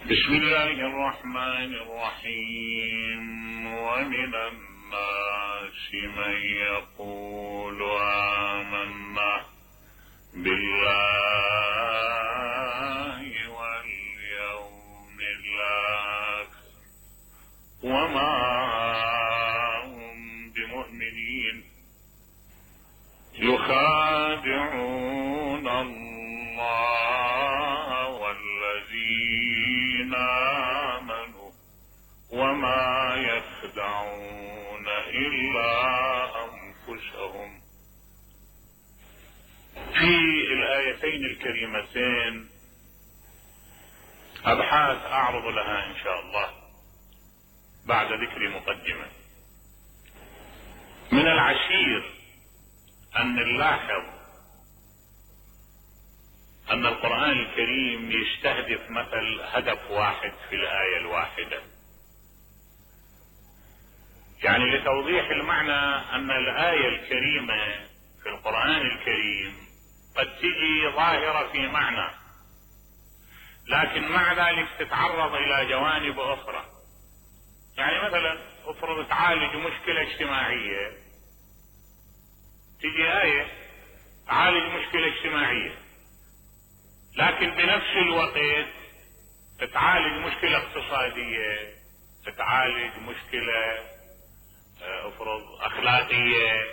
بسم الله الرحمن الرحيم. ومن الناس من يقول آمنا بالله واليوم الآخر وما هم بمؤمنين يخادعون الله والذين آمنوا وما يخدعون إلا أنفسهم. في الآيتين الكريمتين أبحاث أعرض لها إن شاء الله بعد ذكر مقدمة. من العشير أن نلاحظ أن القرآن الكريم يستهدف مثل هدف واحد في الآية الواحدة، يعني لتوضيح المعنى أن الآية الكريمة في القرآن الكريم قد تجي ظاهرة في معنى، لكن مع ذلك تتعرض إلى جوانب أخرى. يعني مثلا افرض تعالج مشكلة اجتماعية، تجي آية تعالج مشكلة اجتماعية، لكن بنفس الوقت تتعالج مشكلة اقتصادية، تتعالج مشكلة افرض اخلاقية.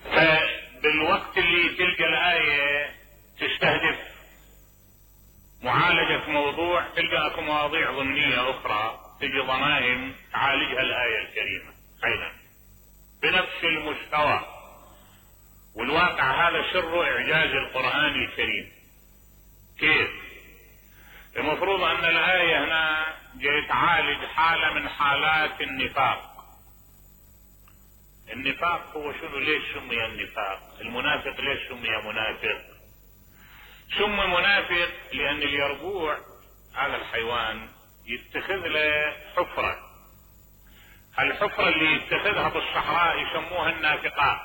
فبالوقت اللي تلقى الآية تستهدف معالجة موضوع، تلقى اكو مواضيع ضمنية اخرى تجي ضمائم تعالجها الآية الكريمة ايضا بنفس المستوى. والواقع هذا سر اعجاز القرآن الكريم. كيف؟ المفروض ان الآية هنا جاي تعالج حالة من حالات النفاق. النفاق هو شنو؟ ليش سمي النفاق؟ المنافق ليش سمي منافق؟ سمي منافق لان اليربوع هذا الحيوان يتخذ له حفرة، الحفرة اللي يتخذها بالصحراء يسموها النافقاء.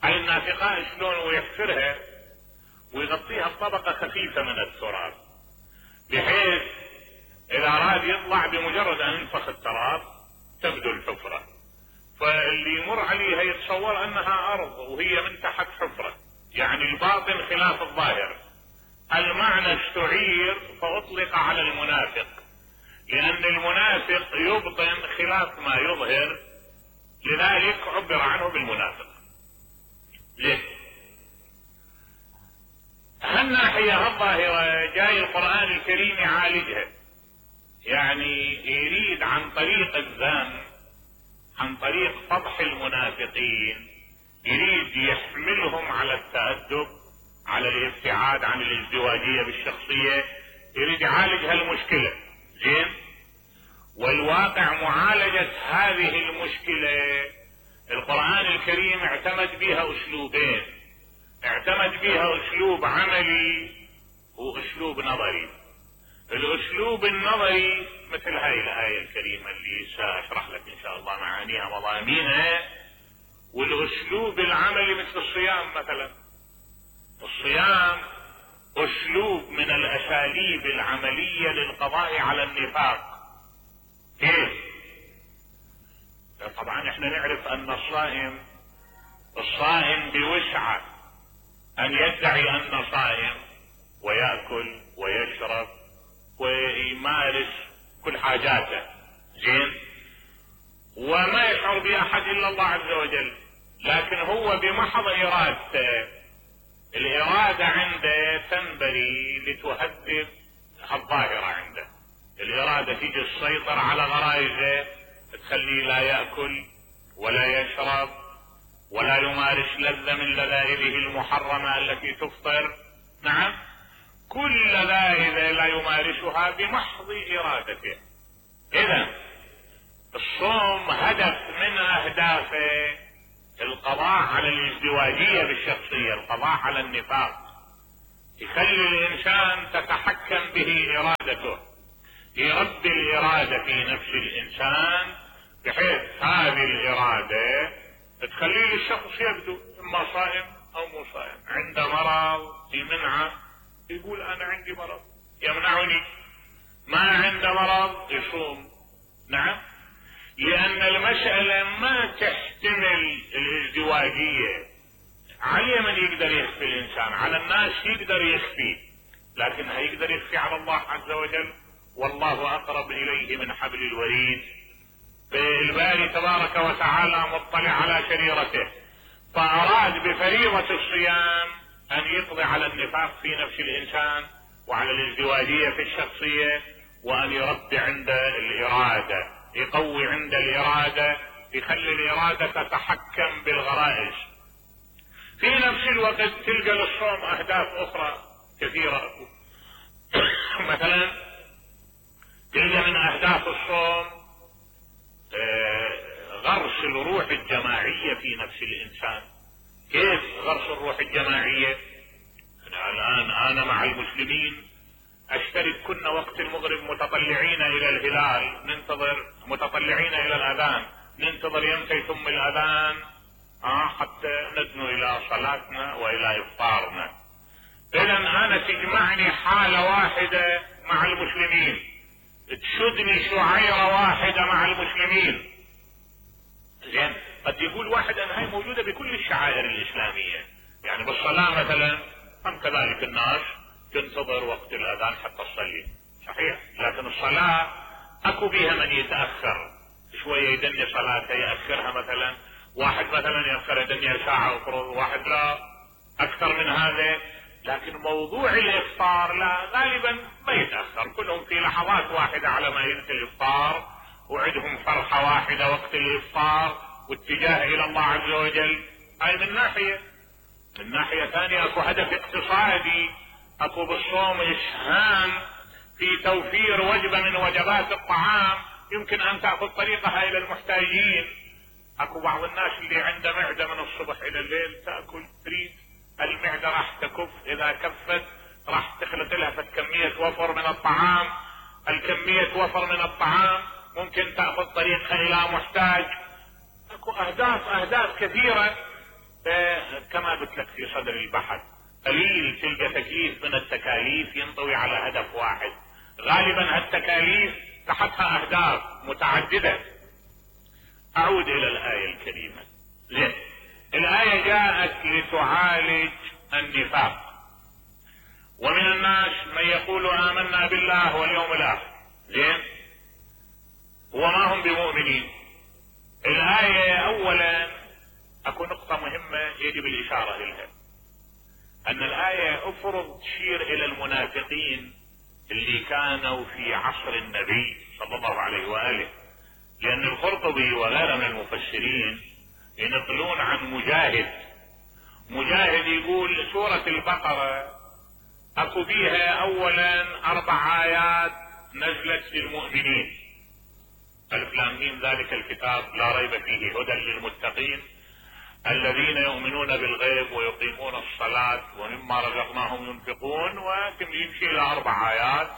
هاي النافقاء شلون؟ ويحفرها ويغطيها بطبقة خفيفة من التراب، بحيث اذا اراد يطلع بمجرد ان ينفخ التراب تبدو الحفرة، فاللي يمر عليها يتصور انها ارض وهي من تحت حفرة، يعني الباطن خلاف الظاهر. المعنى استعير فاطلق على المنافق، لان المنافق يبطن خلاف ما يظهر، لذلك عبر عنه بالمنافق. ليه؟ هالناحية الظاهرة جاي القرآن الكريم يعالجها، يعني يريد عن طريق الذم، عن طريق فضح المنافقين، يريد يحملهم على التأدب، على الابتعاد عن الازدواجية بالشخصية، يريد يعالج هالمشكلة. زين؟ والواقع معالجة هذه المشكلة القرآن الكريم اعتمد بها اسلوبين، اعتمد بها اسلوب عملي واسلوب نظري. الاسلوب النظري مثل هاي الآية الكريمة اللي سأشرح لك ان شاء الله معانيها مضامينها، والاسلوب العملي مثل الصيام مثلا. الصيام اسلوب من الاساليب العملية للقضاء على النفاق. كيف؟ طبعا احنا نعرف ان الصائم بوسعه ان يدعي انه صائم ويأكل ويشرب ويمارس كل حاجاته، زين، وما يشعر بأحد الا الله عز وجل، لكن هو بمحض ارادته، الارادة عنده تنبري لتهذب الظاهرة عنده، الارادة تيجي تسيطر على غرائزه، تخليه لا يأكل ولا يشرب ولا يمارس لذة من لذائذه المحرمة التي تفطر. نعم، كل لذائذ لا يمارسها بمحض ارادته. اذا الصوم هدف من اهدافه القضاء على الازدواجية بالشخصية، القضاء على النفاق، يخلي الانسان تتحكم به ارادته، يربي الارادة في نفس الانسان بحيث هذه الارادة تخليه الشخص يبدو اما صائم او مو صائم. عنده مرض في منعه يقول انا عندي مرض، يمنعني، ما عنده مرض يصوم. نعم، لأن المسألة ما تحتمل الازدواجية. على من يقدر يخفي الإنسان؟ على الناس يقدر يخفي، لكن هيقدر يخفي على الله عز وجل؟ والله أقرب إليه من حبل الوريد. الباري تبارك وتعالى مطلع على شريرته، فأراد بفريضة الصيام أن يقضي على النفاق في نفس الإنسان وعلى الازدواجية في الشخصية، وأن يربي عند الإرادة، يقوي عند الإرادة، يخلي الإرادة تتحكم بالغرائز. في نفس الوقت تلقى للصوم أهداف أخرى كثيرة. مثلا تلقى من أهداف الصوم غرس الروح الجماعية في نفس الإنسان. كيف غرس الروح الجماعية؟ الآن أنا مع المسلمين أشترك كنا وقت المغرب متطلعين إلى الهلال، ننتظر متطلعين إلى الأذان، ننتظر يمتى ثم الأذان حتى ندنو إلى صلاتنا وإلى إفطارنا. إذا أنا تجمعني حالة واحدة مع المسلمين، تشدني شعيرة واحدة مع المسلمين. زين، قد يقول واحد أن هاي موجودة بكل الشعائر الإسلامية، يعني بالصلاة مثلا هم كذلك الناس تنتظر وقت الأذان حتى تصلي، صحيح، لكن الصلاة أكو بيها من يتأخر شوية يدني صلاته يأخرها، مثلا واحد مثلا يأخر يدني ساعة وفرض، واحد لا أكثر من هذا. لكن موضوع الإفطار لا، غالبا ما يتأخر، كلهم في لحظات واحدة على ما ينتهي الإفطار، وعندهم فرحة واحدة وقت الإفطار واتجاه إلى الله عز وجل. هاي من ناحية. من ناحية ثانية اكو هدف اقتصادي، اكو بالصوم اسهام في توفير وجبة من وجبات الطعام يمكن ان تأخذ طريقها الى المحتاجين. اكو بعض الناس اللي عنده معدة من الصبح الى الليل تأكل، تريد المعدة راح تكف، اذا كفت راح تخلط لها كمية وفر من الطعام، الكمية وفر من الطعام ممكن تأخذ طريقها الى محتاج. اكو اهداف كثيرة كما قلت لك في صدر البحث. قليل تلقى تكليف من التكاليف ينطوي على هدف واحد، غالبا هالتكاليف تحتها اهداف متعددة. اعود الى الآية الكريمة. زين، الآية جاءت لتعالج النفاق، ومن الناس من يقول آمنا بالله واليوم الآخر، زين، وما هم بمؤمنين. الآية اولا اكو نقطة مهمة يجب الاشارة اليها، ان الآية افرض تشير الى المنافقين اللي كانوا في عصر النبي صلى الله عليه وآله، لان القرطبي وغيره من المفسرين ينقلون عن مجاهد يقول سورة البقرة اكو بيها اولا 4 آيات نزلت للمؤمنين، ألف لام ميم ذلك الكتاب لا ريب فيه هدى للمتقين الذين يؤمنون بالغيب ويقيمون الصلاة ومما رزقناهم ينفقون، ويمشي الى 4 آيات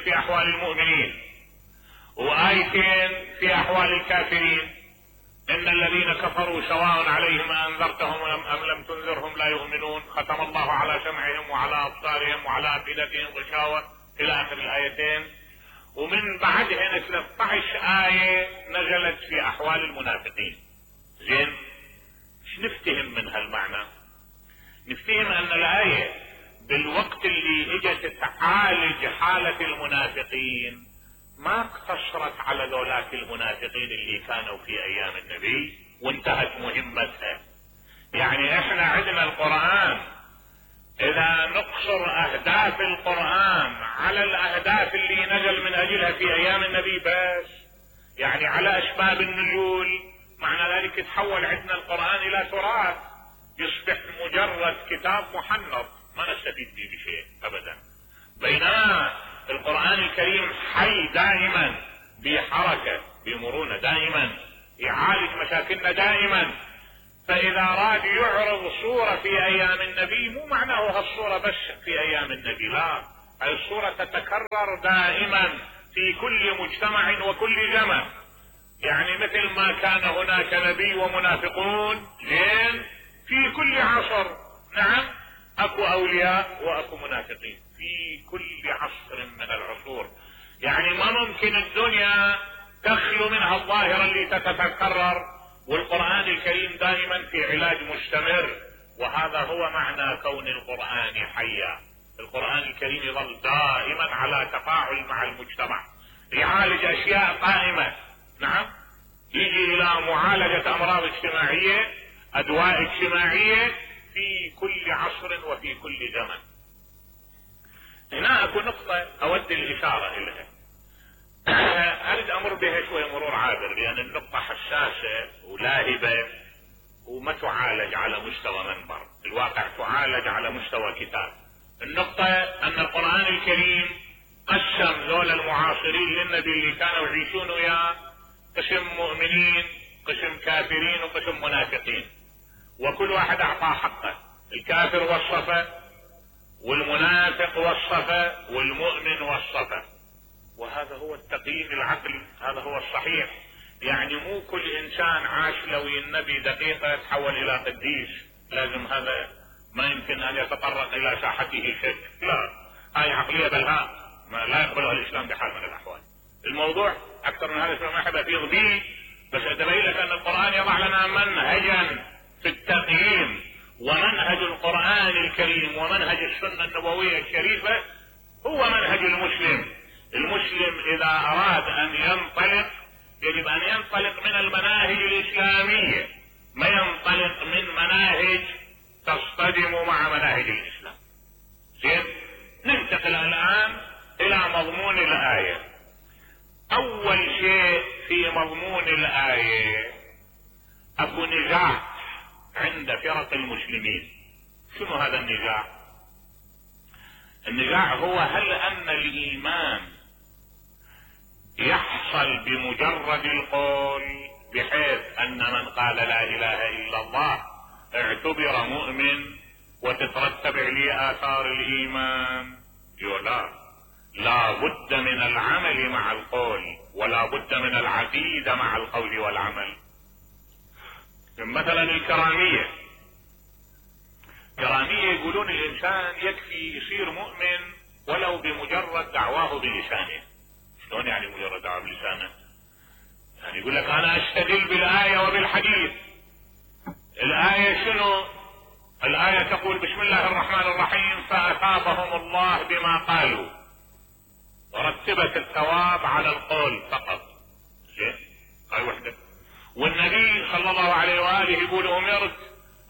في احوال المؤمنين، وآيتين في احوال الكافرين، ان الذين كفروا سواء عليهم انذرتهم ام لم تنذرهم لا يؤمنون، ختم الله على سمعهم وعلى ابصارهم وعلى افئدتهم غشاوة الى اخر الايتين. ومن بعدها 13 آية نزلت في احوال المنافقين. زين، ايش نفتهم من هالمعنى؟ نفتهم ان الآية بالوقت اللي اجت تعالج حالة المنافقين ما اقتصرت على ذولاك المنافقين اللي كانوا في ايام النبي وانتهت مهمتها. يعني احنا عندنا القرآن، اذا نقصر اهداف القرآن على الاهداف اللي نزل من اجلها في ايام النبي بس، يعني على اسباب النزول، معنى ذلك تحول عندنا القرآن الى تراث، يصبح مجرد كتاب محنط ما نستفيد به بشيء ابدا. بينما القرآن الكريم حي دائما، بحركة بمرونة دائما، يعالج مشاكلنا دائما. فاذا راد يعرض صورة في ايام النبي مو معناه هالصورة بس في ايام النبي، لا، الصورة تتكرر دائما في كل مجتمع وكل زمن. يعني مثل ما كان هناك نبي ومنافقون، زين، في كل عصر، نعم، اكو اولياء واكو منافقين. في كل عصر من العصور. يعني ما ممكن الدنيا تخلو منها الظاهرة اللي تتكرر، والقرآن الكريم دائما في علاج مستمر. وهذا هو معنى كون القرآن حيا. القرآن الكريم يظل دائما على تفاعل مع المجتمع، يعالج اشياء قائمة. نعم، يجي الى معالجة امراض اجتماعية، ادواء اجتماعية في كل عصر وفي كل زمن. هنا اكو نقطة اود الاشارة اليها، اريد امر بها شوي مرور عابر، لان النقطة حساسة ولاهبة وما تعالج على مستوى منبر، الواقع تعالج على مستوى كتاب. النقطة ان القرآن الكريم قسم ذول المعاصرين للنبي اللي كانوا يعيشون وياه قسم مؤمنين، قسم كافرين، وقسم منافقين، وكل واحد اعطاه حقه. الكافر وصفه، والمنافق وصفه، والمؤمن وصفه. وهذا هو التقييم العقلي، هذا هو الصحيح. يعني مو كل انسان عاش لوي النبي دقيقة تحول الى قديس، لازم هذا ما يمكن ان يتطرق الى ساحته شك. لا، هاي عقلية بلهاء لا يقبلها الاسلام بحال من الاحوال. الموضوع اكثر من هذا ما احب افيض به، بس اتبين لك ان القرآن يضع لنا منهجا في التقييم، ومنهج القرآن الكريم ومنهج السنة النبوية الشريفة هو منهج المسلم. المسلم اذا اراد ان ينطلق يجب ان ينطلق من المناهج الاسلامية، ما ينطلق من مناهج تصطدم مع مناهج الاسلام. زين، ننتقل الان الى مضمون الاية. اول شيء في مضمون الاية اكو نزاع عند فرق المسلمين. شنو هذا النزاع؟ النزاع هو هل ان الايمان يحصل بمجرد القول، بحيث ان من قال لا اله الا الله اعتبر مؤمن وتترتب عليه اثار الايمان؟ لا بد من العمل مع القول، ولا بد من العقيدة مع القول والعمل. مثلا الكرامية يقولون الانسان يكفي يصير مؤمن ولو بمجرد دعواه بلسانه. شلون يعني مجرد دعواه بلسانه؟ يعني يقول لك انا استدل بالآية وبالحديث. الآية شنو؟ الآية تقول بسم الله الرحمن الرحيم فأثابهم الله بما قالوا، ورتبت الثواب على القول فقط. زين، هاي وحدة. والنبي صلى الله عليه وآله يقول امرت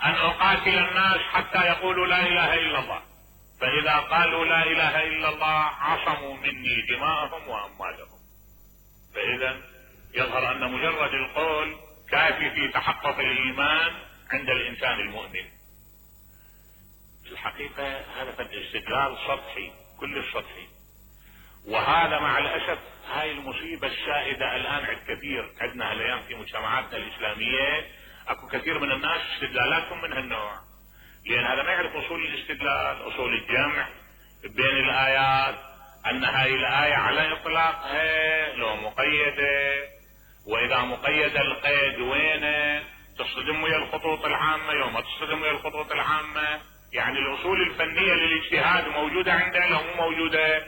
ان اقاتل الناس حتى يقولوا لا اله الا الله، فاذا قالوا لا اله الا الله عصموا مني دماءهم واموالهم. فاذا يظهر ان مجرد القول كافي في تحقق الايمان عند الانسان المؤمن. في الحقيقة هذا قد استدلال سطحي، كل السطحي، وهذا مع الاسف هاي المصيبة السائدة الان عند كثير عندنا الايام في مجتمعاتنا الاسلامية. اكو كثير من الناس استدلالاتهم من هالنوع، لان هذا ما يعرف اصول الاستدلال، اصول الجمع بين الايات، ان هاي الاية على اطلاقها لو مقيدة، واذا مقيدة القيد وينه، تصطدم ويا الخطوط العامة، يوم ما تصطدم ويا الخطوط العامة. يعني الاصول الفنية للاجتهاد موجودة عنده لو مو موجودة؟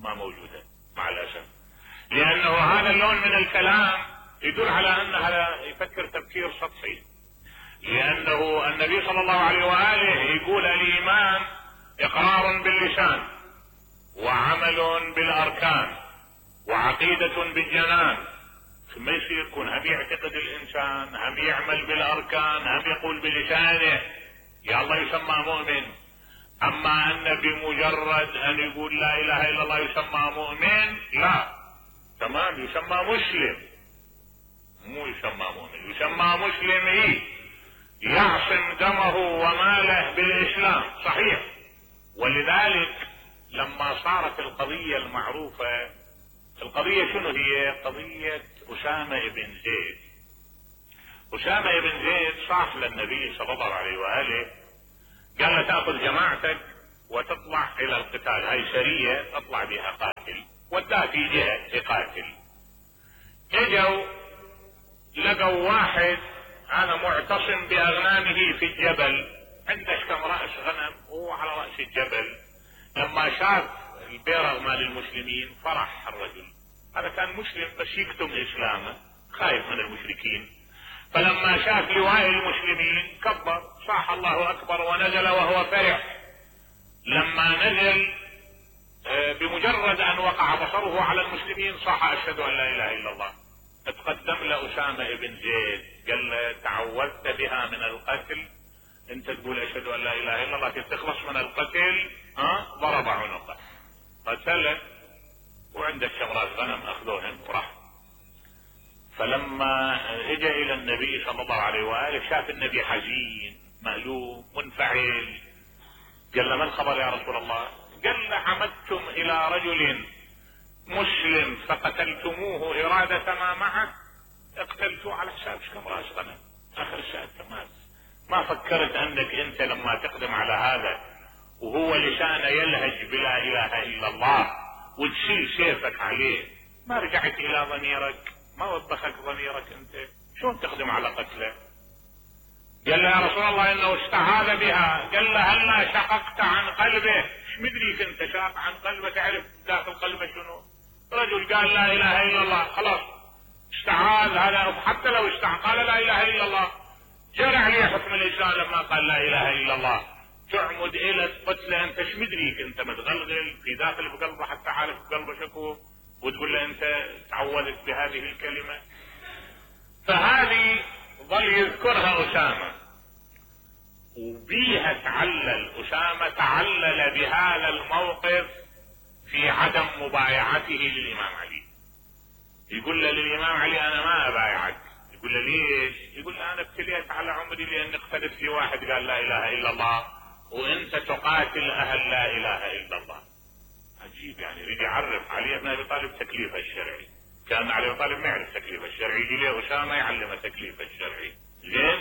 ما موجودة مع الاسف، لانه هذا اللون من الكلام يدل على ان هذا يفكر تفكير سطحي. لانه النبي صلى الله عليه واله يقول الايمان اقرار باللسان، وعمل بالاركان، وعقيدة بالجنان. ثم يصير يكون هم يعتقد الانسان، هم يعمل بالاركان، هم يقول بلسانه، يا الله يسمى مؤمن. اما ان بمجرد ان يقول لا اله الا الله يسمى مؤمن، لا، تمام، يسمى مسلم، مو يسمى مؤمن، يسمى مسلم. يعصم دمه وماله بالاسلام، صحيح. ولذلك لما صارت القضية المعروفة، القضية شنو هي؟ قضية أسامة بن زيد. أسامة بن زيد صاح للنبي صلى الله عليه وآله، قال له تأخذ جماعتك وتطلع إلى القتال، هاي سرية تطلع بها قاتل، وداه في جهة يقاتل. اجوا لقوا واحد أنا معتصم بأغنامه في الجبل، عنده كم رأس غنم وهو على رأس الجبل، لما شاف البيرغ مال المسلمين فرح الرجل، هذا كان مسلم بس يكتم اسلامه خايف من المشركين، فلما شاف لواء المسلمين كبر صاح الله اكبر ونزل وهو فرح. لما نزل بمجرد ان وقع بصره على المسلمين صاح اشهد ان لا اله الا الله. اتقدم لأسامة بن زيد قال له تعوذت بها من القتل، انت تقول اشهد ان لا اله الا الله تخلص من القتل، ضرب عنقه قتله، وعنده شمرات غنم اخذوهم وراح. فلما اجى الى النبي صلى الله عليه واله شاف النبي حزين مألوم منفعل، قال له ما الخبر يا رسول الله؟ قال له عمدتم الى رجل مسلم فقتلتموه إرادة ما معه، اقتلتوه على حساب كم راس غنم اخر الشهر تمام. ما فكرت انك انت لما تقدم على هذا وهو لسانه يلهج بلا اله الا الله وتشيل سيفك عليه، ما رجعت الى ضميرك؟ ما وبخك ضميرك انت؟ شلون تقدم على قتله؟ قال له يا رسول الله انه استعاذ بها. قال له هلا شققت عن قلبه؟ ايش مدريك انت شاق عن قلبه تعرف داخل قلبه شنو؟ رجل قال لا اله الا الله خلاص استعاذ، هذا حتى لو قال لا اله الا الله جرى عليه حكم الاسلام لما قال لا اله الا الله، تعمد الى قتله انت ايش مدريك انت متغلغل في داخل بقلبه حتى عارف بقلبه شكو وتقول له انت تعوذت بهذه الكلمه. فهذه ظل يذكرها اسامه وبيها اسامه تعلل بهذا الموقف في عدم مبايعته للامام علي. يقول له للامام علي انا ما ابايعك. يقول له ليش؟ يقول له انا ابتليت على عمري لاني اختلف في واحد قال لا اله الا الله وانت تقاتل اهل لا اله الا الله. عجيب يعني، يريد يعرف علي بن ابي طالب تكليفه الشرعي، كان علي بن طالب ما يعرف تكليفه الشرعي، يجي له اسامه يعلمه تكليفه الشرعي. زين؟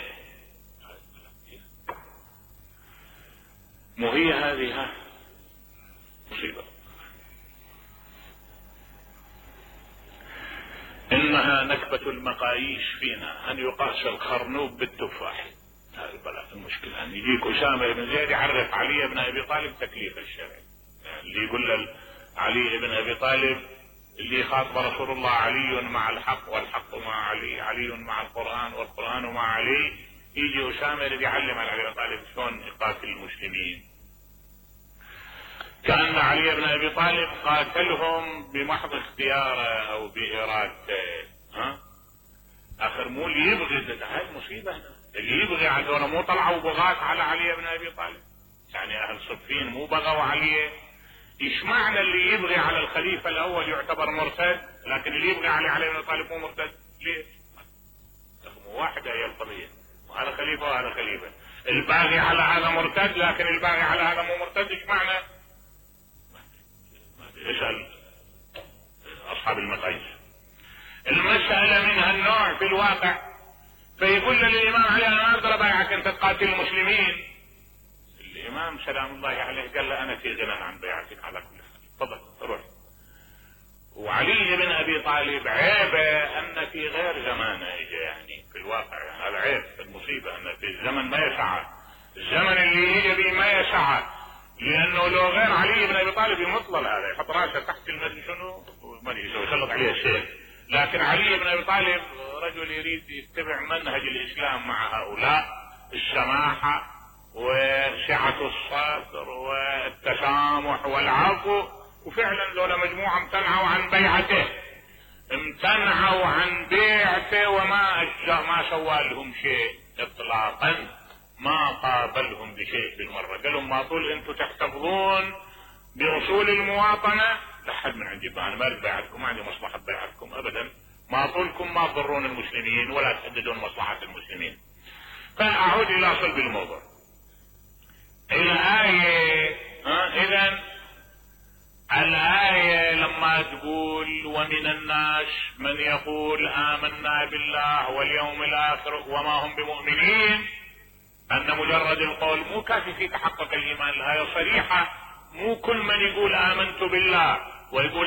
مو هي هذه مصيبه. انها نكبة المقاييس فينا ان يقاس الخرنوب بالتفاح. هذا البلاء المشكلة ان يجيك اسامة بن زيد يعرف علي بن ابي طالب تكليف الشرعي، يعني اللي يقول علي بن ابي طالب اللي خاطب رسول الله علي مع الحق والحق مع علي، علي مع القرآن والقرآن مع علي، يجي اسامة اللي يعلم على علي بن طالب شلون يقاتل المسلمين. كأن علي بن ابي طالب قاتلهم بمحض اختياره او بارادته. اخر مو اللي يبغي، هاي المصيبه هنا، اللي يبغي عندنا مو طلعوا بغاة على علي بن ابي طالب، يعني اهل صفين مو بغوا عليه. ايش معنى اللي يبغي على الخليفه الاول يعتبر مرتد، لكن اللي يبغي علي بن ابي طالب مو مرتد؟ ليش؟ مو واحدة هي القضيه، وهذا خليفه وهذا خليفه، الباغي على هذا مرتد لكن الباغي على هذا مو مرتد. ايش معنى؟ اسأل اصحاب المقاييس. المسألة من هالنوع في الواقع. فيقول للامام علي انا ما اقدر ابايعك انت تقاتل المسلمين. الامام سلام الله عليه قال له انا في غنى عن بيعتك على كل حال، تفضل روح. وعلي بن ابي طالب عيبه ان في غير زمانه اجى، يعني في الواقع هذا عيب، المصيبة ان في الزمن ما يسعه، الزمن اللي يجي به ما يسعه، لانه لو غير علي بن ابي طالب يمطل هذا يحط راسه تحت المدري شنو ما يسلط عليه السيف. لكن علي بن ابي طالب رجل يريد يتبع منهج الاسلام مع هؤلاء، السماحه وسعه الصدر والتسامح والعفو، وفعلا لولا مجموعه امتنعوا عن بيعته، امتنعوا عن بيعته وما سوى لهم شيء اطلاقا، ما قابلهم بشيء بالمرة. قال لهم ما طول انتم تحتفظون باصول المواطنة لحد من عندي، انا ما اريد بيعتكم، ما عندي مصلحة بيعتكم ابدا، ما طولكم ما تضرون المسلمين ولا تحددون مصلحة المسلمين. فاعود الى صلب الموضوع. الآية اذا الآية لما تقول ومن الناس من يقول آمنا بالله واليوم الآخر وما هم بمؤمنين، أن مجرد القول مو كافي في تحقق الإيمان. الآية صريحة، مو كل من يقول آمنت بالله ويقول